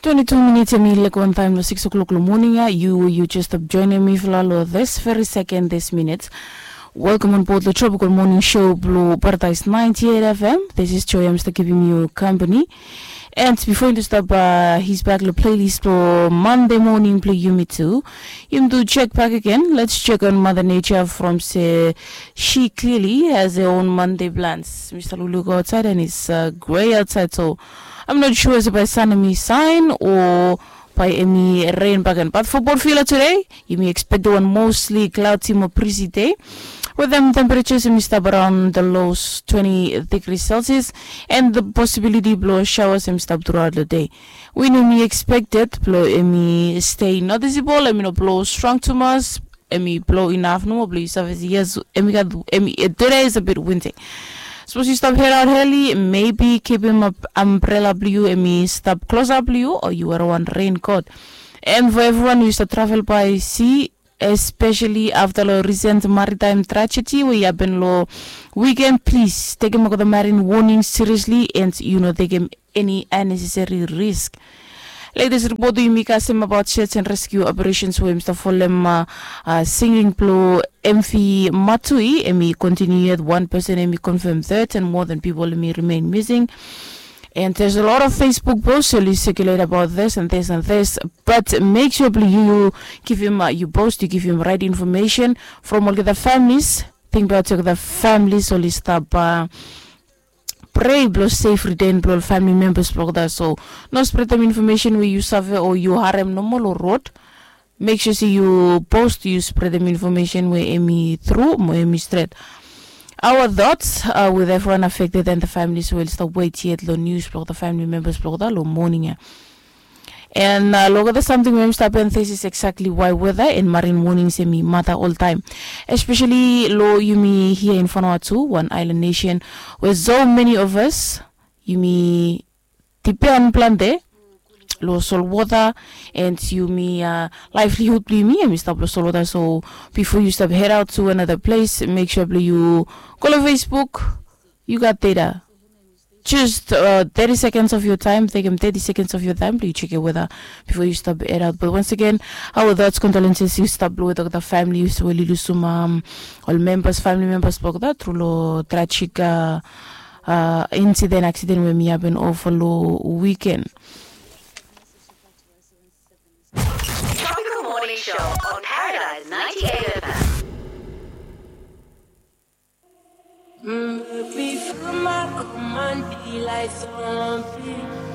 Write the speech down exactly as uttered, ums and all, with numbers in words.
Twenty-two minutes em i lek wan taem long six o'clock long moning ya. Yu yu just stap joinim mifala long this very second, this minute. Welcome on board the Tropical Morning Show blong Paradise ninety-eight F M. This is Joy. I'm still giving you company. And before you stop uh, his back the playlist for Monday morning play Yumi too. You do check back again. Let's check on Mother Nature from say she clearly has her own Monday plans. Mister Lulu go outside and it's uh, gray outside, so I'm not sure se by sun mi sign or by any rain back. But for Portfila today, you may expect one mostly cloudy mo breezy day. With them temperatures in stop around the lows twenty degrees Celsius and the possibility blow showers and stop throughout the day. Wind may expected blow emi stay noticeable, emi no blow strong too much, emi blow enough no more blow yourself as yes emi got emi eh, today is a bit windy. Suppose you stop head out heli, maybe keep him up umbrella blue emi stop close up blue or you wear one raincoat. And for everyone who used to travel by sea, especially after lo recent maritime tragedy wey happen lo weekend, please take him the marine warning seriously and you know take him any unnecessary risk. Latest report we yumi kasem about search and rescue operations wey mr folem uh, uh, singing blue mv matui emi continue yet one person emi confirm third and more than people emi remain missing. And there's a lot of Facebook posts really circulate about this and this and this. But make sure you give him uh, you post, you give him right information from all the families. Think about the families only stop uh, pray blo safe return blo family members blo that. So no spread them information where you suffer or you harem normal or road. Make sure say you post, you spread them information where emi through mo emi straight. Our thoughts are with everyone affected and the families who will stop wait yet lo news blo the family members blo that lo morning ya. And uh, look at the something wey stop and this is exactly why weather and marine warnings emi matter all time, especially lo yumi here in Vanuatu, one island nation where so many of us yumi depend plante lo salt water and yumi uh, livelihood blo yumi emi stop lo salt water. So before you stop head out to another place, make sure blo you go to Facebook, you got data. Just uh, thirty seconds of your time, take them thirty seconds of your time to check your weather before you stop head out. But once again, our thoughts, condolences, you stop blow the family, you will lose some um, all members, family members, blo that through lo tragic uh, uh, incident, accident wey mi happen over lo weekend. Tropical Morning Show on Paradise ninety-eight F M. Mm, if we feel my command, be like something.